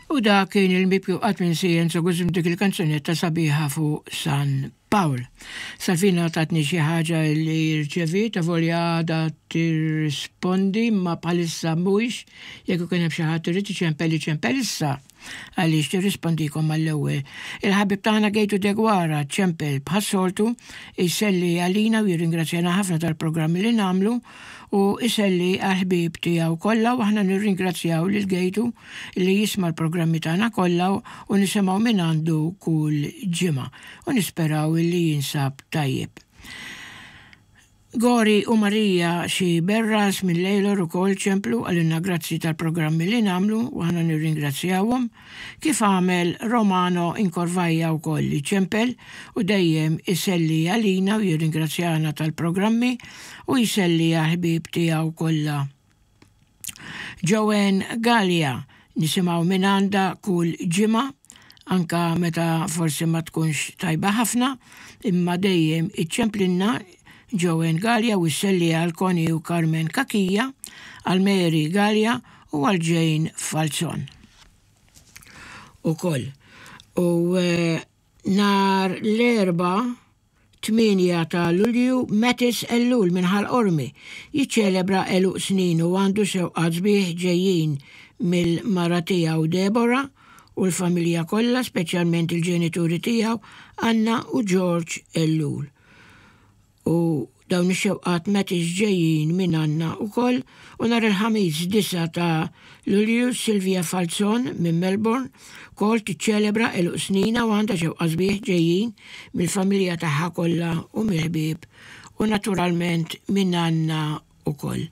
U dak kien il-mibki u qatt minsi Enzo Guzm dik il-kanzunetta sabiħa fuq San Pawl. Salvina tatni xi ħaġa li rċeviet avolja għadha tirrispondi imma bħalissa mhuwiex jekk ikun hemm xi ħadd irid iċempel iċempel issa għaliex tirrispondikom mal-ewwel. Il-ħabib tagħna Gejtu Deguara ċempel bħas-soltu jselli għalina u jirringrazzjana ħafna tal-programmi li nagħmlu u jselli għall-ħbieb tiegħu kollha u aħna nirringrazzjaw lil Gejtu li jisma' l-programmi tagħna kollha u nisimgħu mingħandu kull ġimgħa u nisperaw li jinsab tajjeb. Gori u Marija xi Berras minn Lejlor ukoll ċemplu qalilna grazzi tal-programmi li nagħmlu u aħna nirringrazzjawhom, kif għamel Romano Incorvaia wkoll li ċempel u dejjem iselli għalina u jirringrazzjana tal-programmi u jselli għall-ħbieb tiegħu kollha. Joanne Galea nisimgħu mingħandha kull ġimgħa, anka meta forsi ma tkunx tajba ħafna, imma dejjem iċċemplinna Joanne Galea u sselli għal Connie u Carmen Cachia, għal Mary Galea u għal Jane Falzon. Ukoll. U eh, nhar l-Erbgħa 8 ta' Lulju, Mathis Ellul minn Ħal Qormi jiċċelebra għeluq sninu u għandu xewqat sbieħ ġejjin mill-mara tiegħu Deborah u l-familja kollha speċjalment il-ġenituri tiegħu Anna u George Ellul. U dawn ix-xewqat Mathis ġejjin minn Anna wkoll u nhar il-Ħamis 9 ta' Lulju Sylvia Falzon minn Melbourne wkoll tiċċelebra għeluq sninha u għandha xewqa sbieħ ġejjin mill-familja tagħha kollha u mill-ħbieb u naturalment minn Anna wkoll.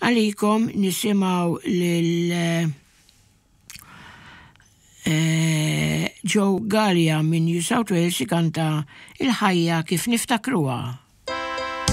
Għalikom nisimgħu lil Joe Galea minn New South Wales ikanta Il-ħajja kif niftakruha.